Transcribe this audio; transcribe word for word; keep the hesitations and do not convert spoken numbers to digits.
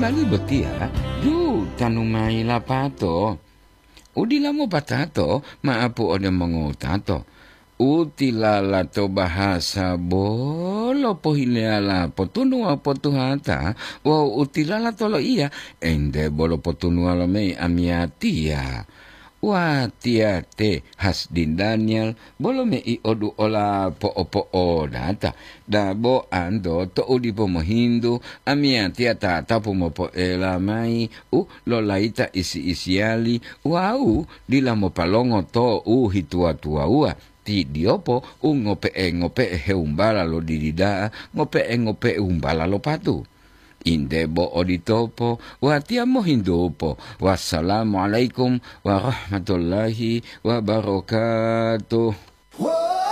Tali botiya, ju tanu mayi lapato. Udila mopatato, maapu ode mongowutato. Utilala to bahasa bolo pohileyala potunuwa potuhata, wawu utilala to loiya, ente bolo potunuwa lo mei amiyatiya. Watiya te Hasdin Daniel, bolo mei odu ola po'opo'odata, dabo anto to'u dipo mohintu, amiyatiya tatapu mopoela mayi u lolayita isi-isiyali wawu dila mopalongo to u hituwa-tuwawuwa, ti diyopo u ngope'e-ngope'e heumbala lo didi da'a, ngope'e-ngope'e umbala lo patu. Inde bo oditopo, watiya mohintupo. Wassalamualaikum warahmatullahi wabarakatuh.